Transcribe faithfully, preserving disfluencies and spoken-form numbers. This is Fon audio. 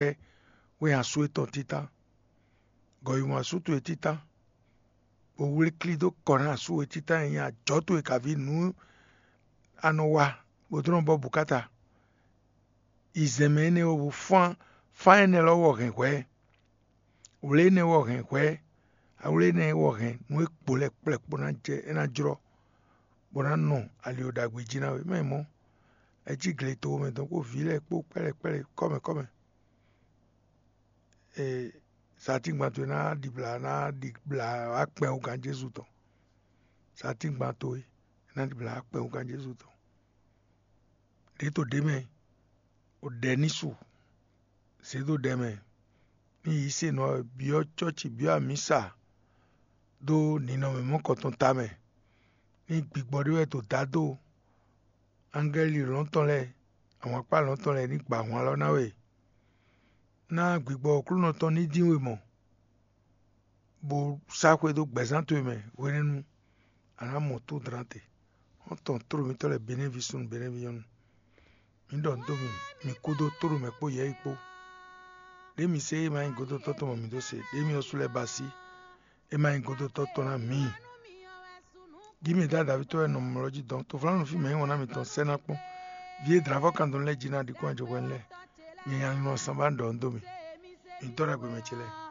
wɛ asú etɔn títán, gɔyun asú towe títán, bó wléklí dó kɔ ná asú we títán e nyí ajɔ̌ towe kaví nǔ a nɔ wa bó dó nɔ bɔ bǔkáta. Yi zɛ̌nmɛ énɛ́ ɔ́ wú fán, fán énɛ́ lɔ́ wɔ hɛn hwɛ̌. Wlě énɛ́ wɔ hɛn hwɛ̌, awlé énɛ́ wɔ hɛn nú é kpo lɛ́ɛ kplɛ́kpó ná jɛ é ná jlɔ́, bó ná nɔ ali e ɖagbe jí ná we. Mɛ mɔ̌, é cí gletoxo mɛ dɔn kpó vǐ lɛ́ɛ kpó kpɛ́lɛ kpɛ́lɛ kɔ́mɛ kɔ́mɛ. Ee, satíngban towe ná ɖibla ná ɖibla akpɛn wúgán Jezu tɔn. Satíngban towe ná ɖibla akpɛn wúgán Jezu tɔn. Ɖě to ɖě mɛ, o ɖɛ ní su, zě dó ɖɛ mɛ, ní yi se nɔ byɔ́ cɔ́ci byɔ́ amǐsa dó ninɔmɛ mɔ̌kɔtɔn tamɛ, ní gbigbɔ ɖé wɛ to dado angɛ́li lɔ̌ntɔn lɛ́ɛ, ahwankpá lɔ̌ntɔn lɛ́ɛ ní gba ahwan lɔ ná we. Ná gbigbɔ Aklúnɔ tɔn ní dín we mɔ, bó sá xwedó gbɛ̌zán towe mɛ hwenɛ́nu, a nǎ mɔ tó dlán te. Xɔ́ntɔn tló mǐtɔn lɛ́ɛ Benɛ́vi súnnu Benɛ́vi nyɔ́nu, mǐ ɖɔ nǔ dó mi, mi kú dó tló mɛ kpó yɛ̌yi kpó. Ɖě mi se é ma nyí godotɔ́ tɔn mɔ mǐ dó se, ɖě mi ɔ́ sú lɛ́ɛ ba sí é ma nyí godotɔ́ tɔn ná mǐ. Jí mi dá Davíd tɔn wɛ nɔ mlɔ́ jí dɔn, toflánú fí mɛ nyí wɔn ná mitɔn sɛ́ ná kpɔ́n. Vǐ e dlǎvɔ́ kan dɔn lɛ́ɛ jí ná ɖi kɔn ajɔhwɛ́nu lɛ́ɛ. Nyɛ nyanlin ɔ́ sán ba ɖɔ nǔ dó mi. Mi dɔ́ ɖagbe mɛ ce lɛ́ɛ.